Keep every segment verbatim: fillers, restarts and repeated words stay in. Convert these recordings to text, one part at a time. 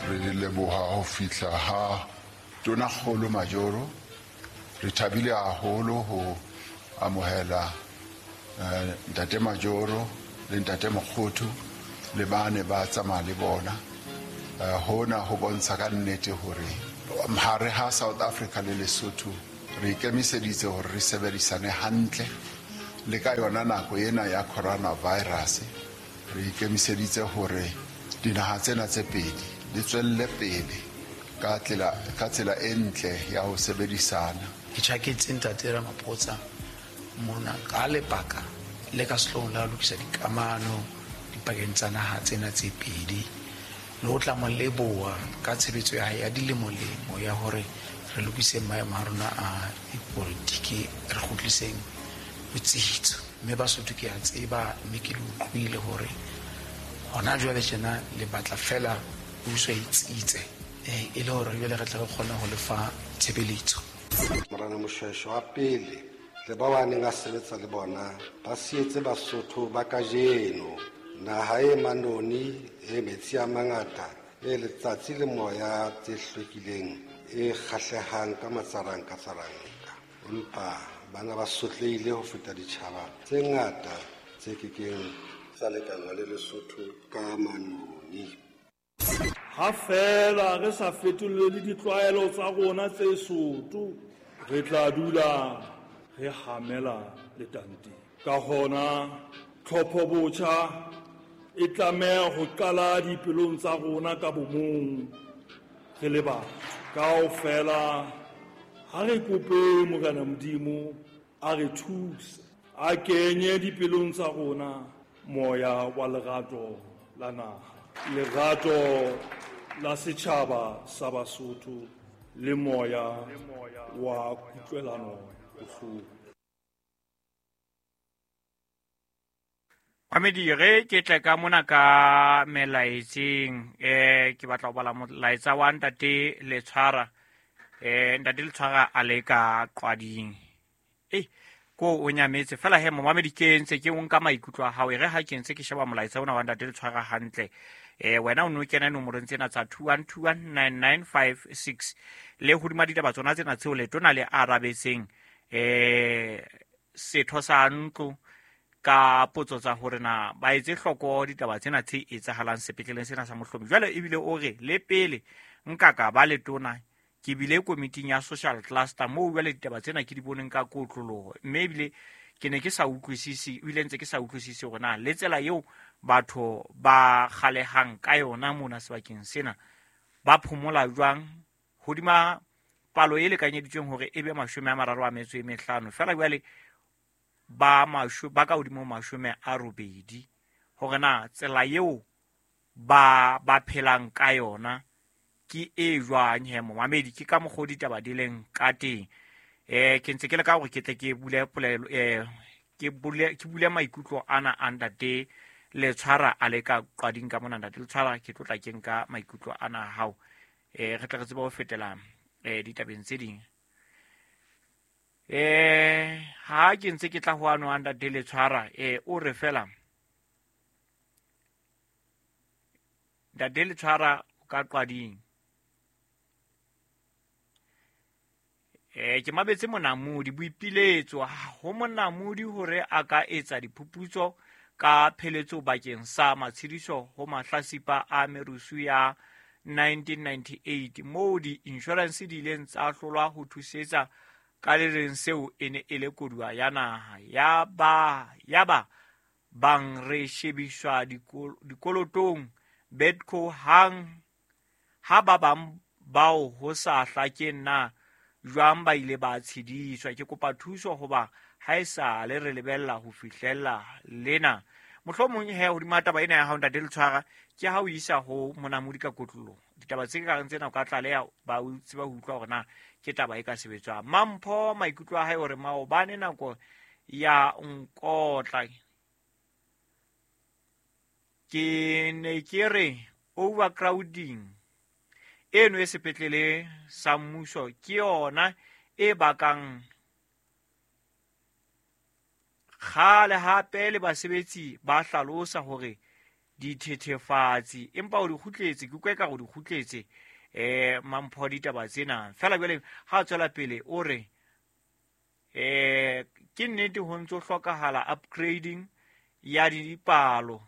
Re leboha ho fihla ha Tonakgolo Majoro. Re thabile haholo ho amohela eh, Ntate Majoro le Ntate Mokgothu le bane ba tsamaya le bona. Eh, hona ho bontsha ka nnete hore hare ha South Africa le Lesotho re ikemiseditse hore re sebedisane hantle le ka yona nako ena ya coronavirus. Re ikemiseditse hore dinaha tsena tse pedi di tswelle pele ka tsela ka tsela e ntle ya ho sebedisana. Ke tjhaketse Ntate Ramaphosa mona ka lebaka le ka sehloohong la ho lokisa dikamano dipakeng tsa naha tsena tse pedi, le ho tla mo leboha ka tshebetso ya hae ya dilemolemo ya hore re lokise maemo a rona a dipolitiki, re kgutliseng botsitso. Mme Basotho ke a tseba, mme ke le utlwile hore hona jwale tjena le batla feela puso e tsitse, eh, e le hore jwale re tle re kgone ho lefa tshebeletso. Morena Moshoeshoe wa pele le ba ba neng a sebetsa le bona ba sietse Basotho ba kajeno naha e manoni, e metsi a mangata, e letsatsi le moya tse hlwekileng, e kgahlehang ka matsaranka tsaranka. Empa bana ba sotlehile ho feta ditjhaba tse ngata tse kekeng tsa lekanngwa le Lesotho ka manoni. Ha feela re sa fetolele ditlwaelo tsa rona tse soto, re tla dula re hamela letanteng. Ka hona tlhopho botjha e tlameha ho qala dipelong tsa rona ka bomong re le batho. Kaofela ha re kope Morena Modimo a re thuse, a kenye dipelong tsa rona moya wa lerato la naha, lerato la setjhaba sa Basotho le moya wa kutlwelano bohloko. Mamedi, re ke tle ka mona ka melaetseng, eh ke batla ho bala molaetsa wa Ntate Letshwara. Eh Ntate Letshwara a le ka Qwading. Eh ko o nyametse fela he momamedi, ke ntse ke o nka maikutlo a hao. E re ha ke ntse ke sheba molaetsa ona wa Ntate Letshwara hantle, eh wena o no kena nomorong tsena tsa two one two one nine nine five six le hodima ditaba tsona tsena tseo letona le arabetseng eh setho sa ntlo ka potso tsa hore na ba etse hloko ditaba tsena tse etsahalang sepetleleng sena sa Mohlomi. Jwale ebile o re le pele nka ka ba letona ke bile komiting ya social cluster moo jwale ditaba tsena ke di boneng ka kotloloho, mme ebile ke ne ke sa utlwisise, ebile ntse ke sa utlwisise hore na le tsela eo batho ba kgalehang ka yona mona sebakeng sena ba phomola jwang hodima palo e lekanyeditsweng hore e be mashome a mararo a metso e mehlano, fela jwale ba masho ba ka hodimo mashome a robedi, hore na tsela eo ba ba phelang ka yona ke e jwang he momamedi. Ke ka mokgwa ditaba di leng ka teng. Eh ke ntse ke le ka hore ke tle ke bule polelo, eh ke bule ke bule maikutlo ana a Ntate Letshwara a le ka Qwading ka mona. Ntate Letshwara, ke tlotla ke nka maikutlo ana a hao, eh re tle re tsebe ho fetela eh ditabeng tse ding. Eh ha ke ntse ke tla ho ano a Ntate Letshwara, eh o re fela Ntate Letshwara o ka Qwading. Eh ke mabetse monamodi boipiletso ho monamodi hore a ka etsa diphuputso ka pheletso bakeng sa matshediso ho mahlasipa a merusu ya nineteen ninety-eight moo di-insurance di ileng tsa hlolwa ho thusetsa ka le reng seo e ne e le koduwa ya naha. Ya ba ya ba bang re shebiswa dikolotong Bedco hang ha ba bang bao ho sa hlakeng na jwang ba ile ba tshediswa. Ke kopa thuso hoba ha e sa le re lebella ho fihlella lena. Mohlomong he hodima taba ena ya hao Ntate Letshwara, ke ha o isa ho monamodi ka kotloloho. Ditaba tse kareng tsena o ka tlaleha ba o tseba ho utlwa hore na ke taba e ka sebetswang. Mampho maikutlo a hae hore maobane nako ya nkotla ke ne ke re overcrowding eno e sepetlele sa mmuso ke yona e bakang kgale. Hape le basebetsi ba hlalosa hore dithethefatsi empa o di kgutletse ke utlwa ekare o di kgutletse eh Mampho ditaba tsena fela jwale ha tswela pele o re eh ke nnete ho ntso hlokahala upgrading ya dipalo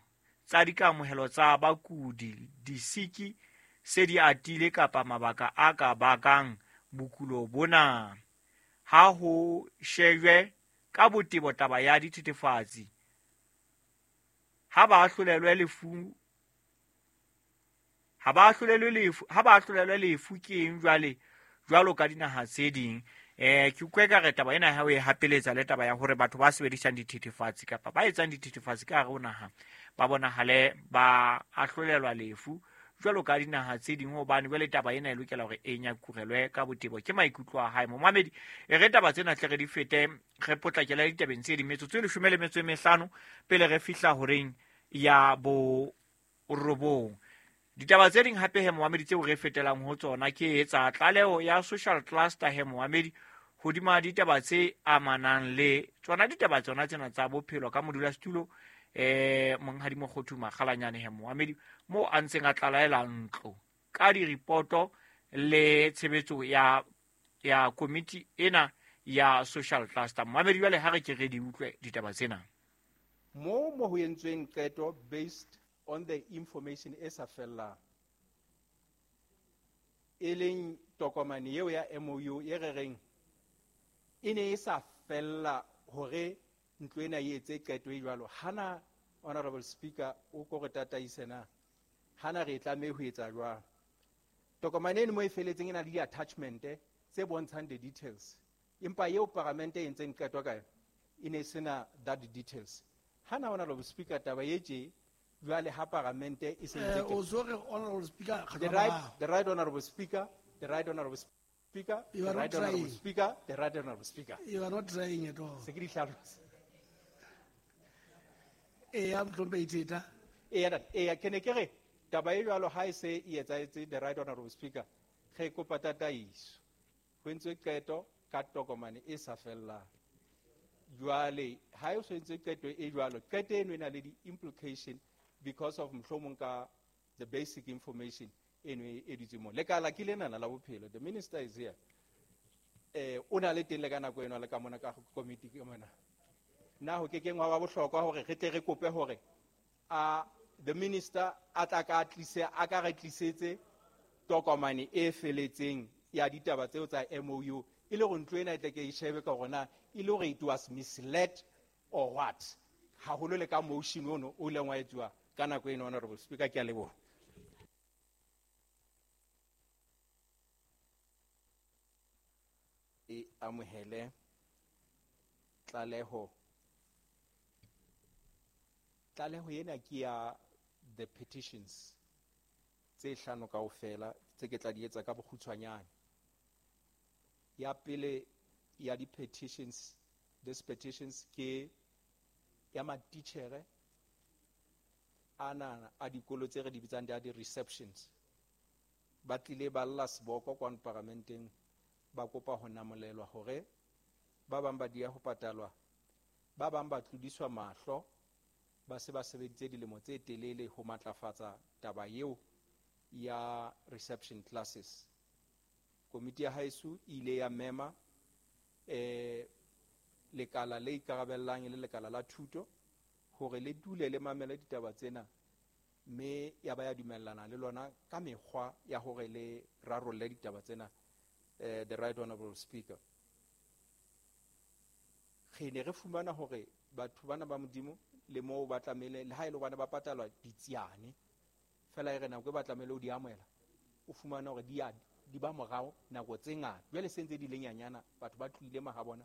tsa dikamohelo tsa bakudi disiki se di atile kapa mabaka a ka bakang bokulo bona ha ho shejwe ka botebo taba ya dithethefatsi ha ba ahlolelwe lefu ha ba ahlolelwe lefu ha ba ahlolelwe lefu ke eng jwale jwalo ka dinaha tse ding eh ke utlwe ka re taba ena ha o e hapeletsa le taba ya hore batho ba sebedisang dithethefatsi kapa ba etsang dithethefatsi ka hare ho naha ba bonahale ba ahlolelwa lefu jwalo ka dinaha tse ding hobane jwale taba ena e lokela hore e nyakurelwe ka botebo ke maikutlo a hae momamedi e re taba tsena tle re di fete re potlakela ditabeng tse ding metsotso e leshome le metso e mehlano pele re fihla horeng ya bo robong ditaba tse ding hape he momamedi tseo re fetelang ho tsona ke etsa tlaleho ya social cluster he momamedi hodima ditaba tse amanang le tsona ditaba tsona tsena tsa bophelo ka modulasetulo eh monghadi Mokgothu Makgalanyane he momamedi mo a ntseng a tlalaela ntlo ka diripoto le tshebetso ya ya komiti ena ya social cluster momamedi jwale ha re ke re di utlwe ditaba tsena mo mo ho entsweng qeto based on the information e sa fellang e leng tokomane eo ya M O U e re reng e ne e sa fella hore ntlo ena e etse qeto e jwalo hana honorable speaker o ko re tataise na hana re tlameha ho etsa jwang tokomane eno mo e feletseng e na le di-attachment tse bontshang the details empa eo paramente e entseng qeto ka yona e ne sena that details hana honorable speaker taba e tje jwale ha paramente e se ntse o so re honorable speaker the right the right honorable speaker the right honorable speaker the right honorable speaker the right honorable speaker you are not trying at all se ke di hlalosa e ya mhlompe itheta e ya e ya ke ne ke re taba e jwalo ha e se e etsahetse the right honorable speaker re kopa tataiso ho entswe qeto ka tokomane e sa fellang jwale ha e so entswe qeto e jwalo qeto eno e na le di-implication because of mohlomong ka the basic information eno e dutseng mo lekala ke lenana la bophelo the minister is here eh o na le teng le ka nako eno le ka mona ka committee ke mona na ho ke keng wa ba bohlokwa hore re tle re kope hore a the minister a tla ka tlise a ka re tlisetse tokomane e feletseng ya ditaba tseo tsa M O U e le hore ntlo ena e tle ke e shebe ka hore na e le hore it was misled or what haholo le ka motion ono o ileng wa etsuwa ka nako eno honorable speaker ke a leboha e amohele tlaleho tlaleho ena ke ya the petitions tse hlano kaofela tse ke tla di etsa ka bokgutshwanyane ya pele ya di petitions this petitions ke ya matitjhere ana a dikolo tse re di bitsang di di receptions ba tlile ba lla seboko kwano paramenteng ba kopa ho namolelwa hore ba bang ba dia ho patalwa ba bang ba tlodiswa mahlo ba se ba sebeditse dilemo tse telele ho matlafatsa taba eo ya reception classes komiti ya haeso e ile ya mema eh lekala le ikarabellang le lekala la thuto hore le dule le mamele ditaba tsena mme ya ba ya dumellana le lona ka mekgwa ya hore le rarolle ditaba tsena eh the right honorable speaker re ne re fumana hore batho bana ba modimo le moo ba tlamehile le ha e le bana ba patalwa ditsiane fela e re nako e ba tlamehile o di amohela o fumana hore di a di ba morao nako tse ngata jwale se ntse di le nyanyana batho ba tlohile mahabona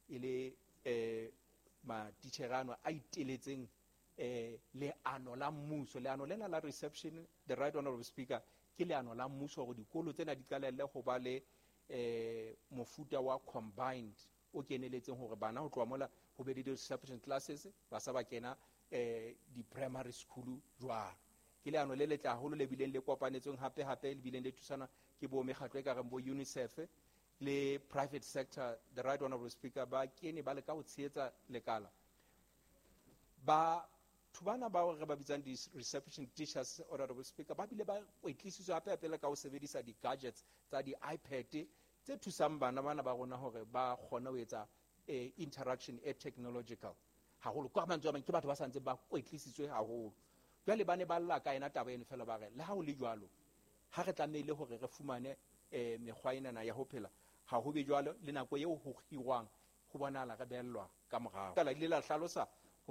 e le eh matitjhere ano a iteletseng eh leano la mmuso leano lena la reception the right honorable speaker ke leano la mmuso hore dikolo tsena di qalelle ho ba le eh mofuta wa combined o keneletseng hore bana ho tloha mola ho be le di-reception classes ba sa ba kena eh di-primary school jwalo ke leano le letle haholo le bileng le kopanetsweng hape hape le bileng le thusana ke bo mekgatlo e ka reng bo UNICEF le private sector the right honorable speaker ba kene ba leka ho tshehetsa lekala ba Batho bana bao re ba bitsang di-reception teachers, Honorable Speaker, ba bile ba kwetlisitswe hape hape le ka ho sebedisa di-gadgets tsa di-iPad tse thusang bana bana ba rona hore ba kgone ho etsa eh, interaction e technological haholo. Ka mantswe a mang, ke batho ba sa ntse ba kwetlisitswe haholo. Jwale ba ne ba lla ka ena taba eno fela, ba re le ha ho le jwalo, ha re tlamehile hore re fumane eh, mekgwa enana ya ho phela, ha ho be jwalo le nako eo ho hirwang ho bonahala re behellwa ka morao. Ka la ile la hlalosa